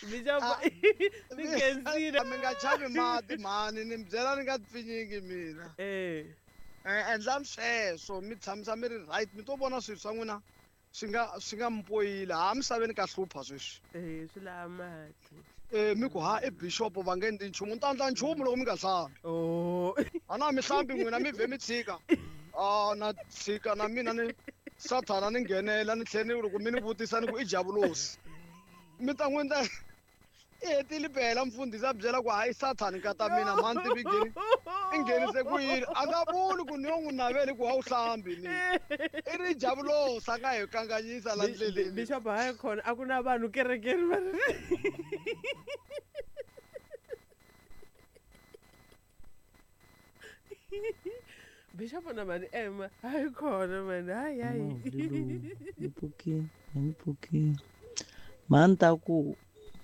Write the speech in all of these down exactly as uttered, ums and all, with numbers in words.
Bishop ni khensile. Mi nga chavi mati mhani, ni mi byela ni nga pfinyingi mina. Eh. Eh, endlani sweswo mi tshamisa mi ri right, mi to vona swilo swa n'wina swi nga swi nga mi poyila. Ha misaveni ka hlupha sweswi. Eh, swi lava mati. Eh, mi ku ha i bishop va nge endli nchumu, ni ta endla nchumu loko mi nga hlambi. Oh. A na mi hlambi n'wina mi vhe mi tshika. Ah, na tshika na mina ni sathana ni nghenela ni tlhela ni loko mi ni vutisa ni ku i javulosi. Mi ta n'wi endla i hetile phela mfundhisi a byela ku hayi sathani nkata mina mhani tivi ngheni i nghenise ku yini, a nga vuli ku ni yo n'wi naveli ku a wu hlambi ni i ri javulosi a nga hi kanganyisa la ndleleni. Bishop hayi khona a ku na vanhu kerekeni va Bishop na mani Emma hayi khona mani hayi hayi ni pfukile ni pfukile mhani ta ku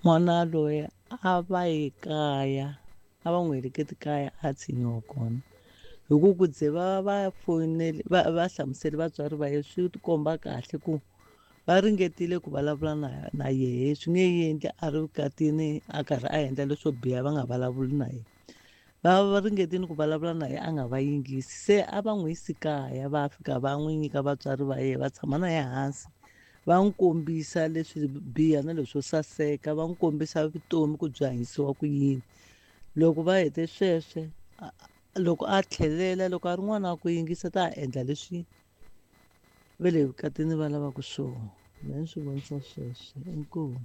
n'wana loyi a va ye kaya a va n'wi heleketi kaya a tshinyiwa kona hi ku ku ze va va foyinele va va hlamusele vatswari va ye swi tikomba kahle ku va ringetile ku vulavula na na yehe swi nge endli a ri vukatini a karhi a endla leswo biha va nga vulavuli na yena. Va va ringetile ku vulavula na yena a nga va yingisi se a va n'wi yisi kaya va fika va n'wi nyika vatswari va yena va tshama na yena hansi va n'wi kombisa leswi biha na leswo saseka va n'wi kombisa vutomi ku byi hanyisiwa ku yini. Loko va hete sweswe loko a tlhelela loko a ri n'wana wa ku yingisa ta endla leswi va le vukatini va lavaka swona. Mina ni swi vonisa sweswo inkomu.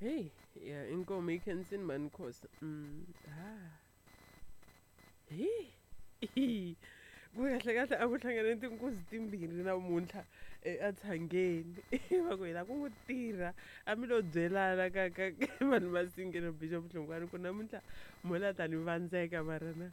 Hey, ya inkomu yi khensini mhani Khosa. Mm, ha. Hi. Ku kahle kahle a ku hlangane tinkuzi timbirhi namuntlha etshangeni va ku hi la ku n'wi tirha a mi lo byelana ka ka vanhu va singelo Bishop Hlongwane ku namuntlha mo la ta ni vandzeka mara na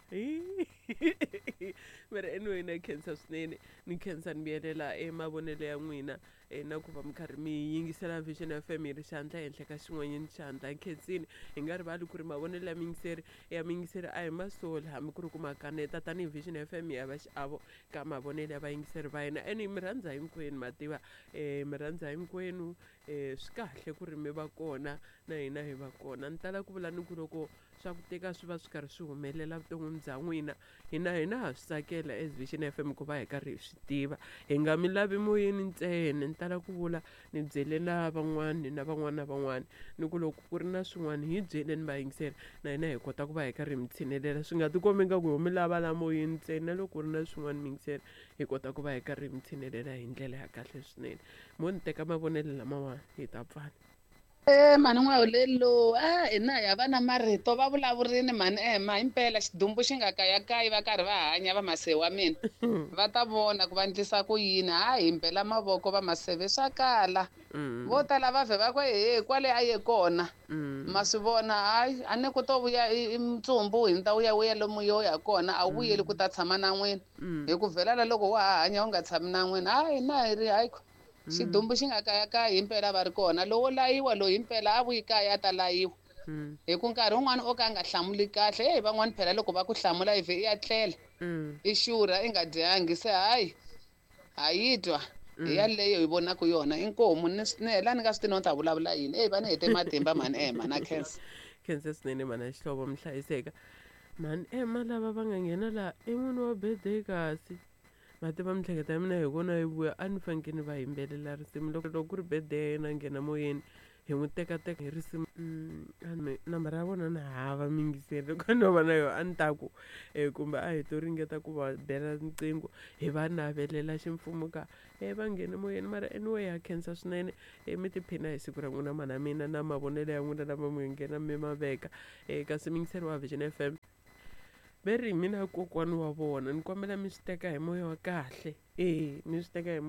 mara anyway na khensa swinene ni khensa ni vuyelela emavonelo ya n'wina na ku va mi karhi mi yingisela Vision F M hi ri xandla ehenhla ka xin'wanyana xandla. Nkhensini hi nga rivali ku ri mavonelo ya miyingiseri ya miyingiseri a hi masoli hambi ku ri ku ma kaneta tanihi Vision F M ya va xiavo ka mavonelo ya vayingiseri va hina. Ene mi rhandza hinkwenu ma tiva um mi rhandza hinkwenu um swi kahle ku ri mi va kona na hina hi va kona. Ni tala ku vula ni ku loko swa ku teka swi va swi karhi swi humelela vuton'wini bya n'wina hina hina ha swi tsakela as Vision F M ku va hi karhi hi swi tiva hi nga mi lavi moyeni ntsena. Ni tala ku vula ni byele na van'wani na van'wana na van'wani ni ku loko ku ri na swin'wana hi byeleni vayingiseri na hina hi kota ku va hi karhi hi mi tshinelela swi nga tikombi nga ku ho mi lava la moyeni ntsena na loko ku ri na swin'wana miyingiseri hi kota ku va hi karhi hi mi tshinelela hi ndlela ya kahle swinene. Mo ni teka mavonelo lamawani hi ta pfala. Eh mhani N'wahulelo a hina ya va na marito va vulavurini mhani Emma himpela xidumbu xi nga kayakayi va karhi va hanya va maseve wa mina va ta vona ku va endlisa ku yini hayi himpela mavoko va maseve swa kala vo tala va vhe va ku he kwale a ye kona ma swi vona hayi a ni ku to vuya i ntsumbu hi ta vuya vuya lomu yo ya kona a wu vuyeli ku ta tshama na n'wina hi ku vhelala loko wa ha hanya u nga tshami na n'wina hayi na hi ri hayi xidumbu xi nga kayakayi himpela va ri kona lowo layiwa loyi himpela a vuyi kaya a ta layiwa hi ku nkarhi wun'wani o ka a nga hlamuli kahle heyi van'wani phela loko va ku hlamula i vhe i ya tlela i xurha i nga dyangi se hayi ha yi twa hi yaleyo hi vonaka yona inkomu ni hela ni nga swi tivi no ni ta vulavula yini eyi va ni hete matimba mhani Emma na khensa. Khensa swinene mhani ya xihlovo mi hlayiseka mhani Emma lava va nga nghena laha i n'wini wa birthday kasi ma tiva miehleketo ya mina hi vona yi vuya a ni fanekele ni va yimbelela risimu loko loko ku ri birthday ya yena nghena moyeni hi n'wi tekateka hi risimu nambara ya vona ni hava miyingiseri loko no va na yona a ni ta ku um kumbe a hi to ringeta ku va bela riqingho hi va navelela ximfumo ka e va nghene moyeni mara anyway ha khensa swinene e mi tiphina hi siku ra n'wina mhana mina na mavonelo ya n'wina lama mi nghena mi ma veka um kasi miyingiseri wa Vision F M ve ri mina kokwani wa vona ni kombela mi swi teka hi moya wa kahle e mi swi teka hi